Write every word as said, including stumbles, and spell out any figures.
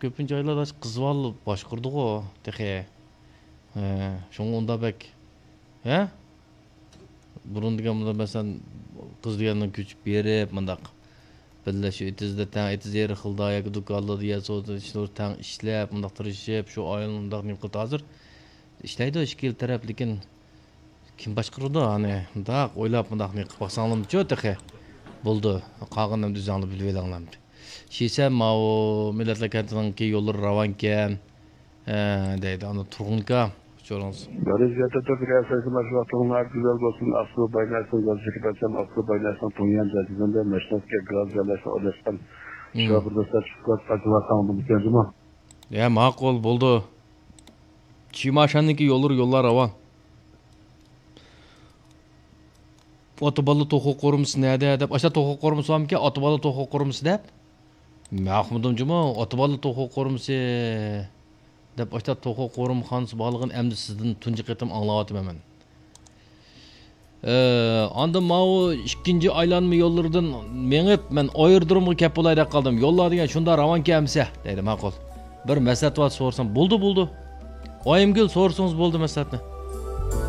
كۆپىنچە ئاياللار قىز بالا باشقۇرىدىغۇ تېخى. ھە، شۇڭا ئۇنداق بەك، ھە؟ بۇرۇن دېگەن بۇنداق، مەسىلەن، قىز دېگەننىڭ كۆچۈپ بېرىپ، مۇنداق بىللە شۇ ئېتىزدا، تەڭ ئېتىز يېرى خىلدا ياكى دۇكانلاردا يەر سودا ئىشلىرى تەڭ ئىشلەپ، مۇنداق تىرىشىپ، شۇ ئائىلىنى مۇنداق نېمە قىلدى. ھازىر ئىشلەيدۇ ئىككى تەرەپ، لېكىن كىم باشقۇرىدۇ؟ ئانى مۇنداق ئويلاپ، مۇنداق نېمە قىلىپ باقساڭلارمۇچۇ تېخى. بولدى، قالغىنىنى ئۆزۈڭلار بىلىۋېلىڭلار. شىسەن ماۋۇ مىللەتلەر كەنتىنىڭكى يوللىرى راۋانكەن، ھە، دەيدۇ. ئانا تۇرغۇنكا، ئۇچۇرىڭىز. بىرىنچى يەتتە تۆت رىياسەتچى ماشۇ ۋاقتىڭلار گۈزەل بولسۇن. ئاسلى بايناسنىڭ گۈزەل شىركەتچەم، ئاسلى بايناسنىڭ تۇڭيان جەزىرىمىدە مەشناسكە گاز جايلاشنى ئويلاشقان. شۇ بىر دوستلار چىقىپ قالسا، ئاچىۋاتساڭ بولىدىكەن جۇمۇ. يا، ماقۇل، بولدى. چىماشاننىڭكى يوللىرى، يوللار راۋان. ئاتا بالا توخۇ قورۇمىسى نەدە دەپ، ئاشتا توخۇ قورۇمىسى بارمىكەن؟ ئاتا بالا توخۇ قورۇمىسى دەپ. مەن ئۇقمىدىم جۇمۇ، ئاتا بالا توخۇ قورۇمىسى دەپ، ئاشتا توخۇ قورۇمخانىسى بارلىقىنى ئەمدى سىزدىن تۇنجى قېتىم ئاڭلاۋاتىمەن مەن. ئە، ئاندىن ماۋۇ ئىككىنچى ئايلانما يوللىرىدىن مېڭىپ، مەن ئايرودرومغا كەپ بولاي دەپ قالدىم. يوللار دېگەن شۇنداق راۋانكەن ئەمىسە، دەيدۇ. ماقۇل. بىر مەسلىھەت بار سورىسام، بولدى، بولدى. ئايىمگۈل، سورىسىڭىز بولدى مەسلىھەتنى.